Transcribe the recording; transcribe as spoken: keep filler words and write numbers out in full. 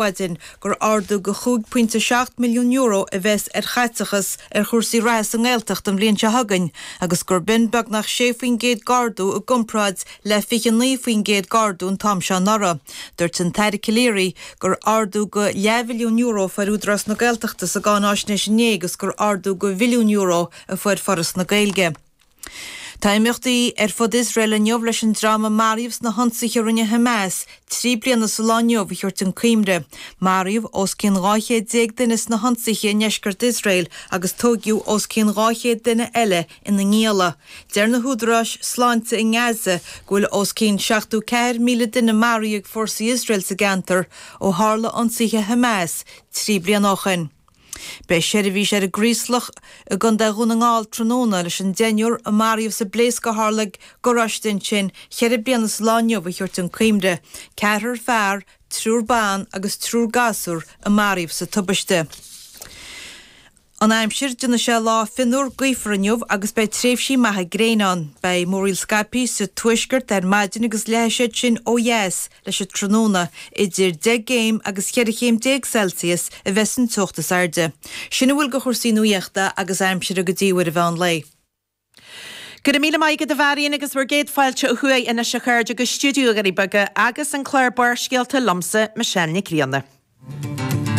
maidin gur ardú go chúig pointe seacht milliún euro a bheas ar chaiteachas ar chúrsaí reatha sa nGaeltacht an bhliain seo chugainn agus gur b'in beagnach sé faoin gcéad d'ardú i gcomparáid le fiche naoi faoin gcéad d'ardú an t-am seo anuraidh. Dúirt an tAire Calleary gur ardú go leathmhilliún euro a fuair Údarás na Gaeltachta sa gcáináisnéis inné agus gur ardú go mhilliún euro a fuair Foras na Gaeilge. Tá imeachtaí ar fud Iosrael inniu leis an dream a maraíodh sna hionsaithe a rinne Hamas trí bliana sa lá inniu a thabhairt chun cuimhne. Maraíodh os cionn dhá chéad déag duine sna hionsaithe i ndeisceart Iosrael agus tóigeadh os cionn dhá chéad duine eile ina ngialla. Deir na húdaráis sláinte i nGaza go bhfuil os cionn seachtó ceathair míle duine maraithe ag fórsaí Iosrael sa gceantar ó tharla ionsaithe Hamas trí bliana ó shin. Beidh seirbhís ar an gCraoslach i gContae Dhún na nGall tráthnóna leis an deichniúr a maraíodh sa bpléasc a tharla ag garáiste ansin ceithre bliana sa lá inniu a thabhairt chun cuimhne. Ceathrar fear, triúr ban agus triúr gasúr a maraíodh sa tubaiste. An aimsir, Déanfaidh sé lá fionnuar gaofar inniu agus beidh tréimhsí maithe gréine ann. Beidh múraíl scaipthe sa tuaisceart ar maidin agus leathfaidh siad sin ó dheas leis an tráthnóna. Idir deich gcéim agus cheithre chéim déag Celsius a bheas an teocht is airde. Sin a bhfuil de chúrsaí nuaíochta agus aimsire go dtí uair an mheán lae. Go raibh míle maith agat a Mharion agus bhur gcéad fáilte ó thuaidh anois a chairde go stiúideo Dhoirí Beaga agus an clár Barrscéalta liomsa, Michelle Nic Grianna.